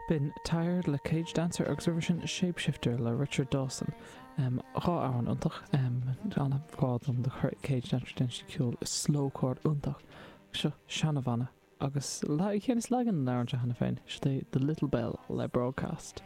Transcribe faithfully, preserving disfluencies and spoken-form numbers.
B'in Tired le Cage Dancer agus roimhe sin Shapeshifter le Richard Dawson. Um, dhá amhrán iontach um, an-ghrá dom do Cage Dancer déanann siad ceol slowcore iontach. Seo seanabhanna agus le chéan is legan leir cheana féin, sé The Little Bell le Broadcast.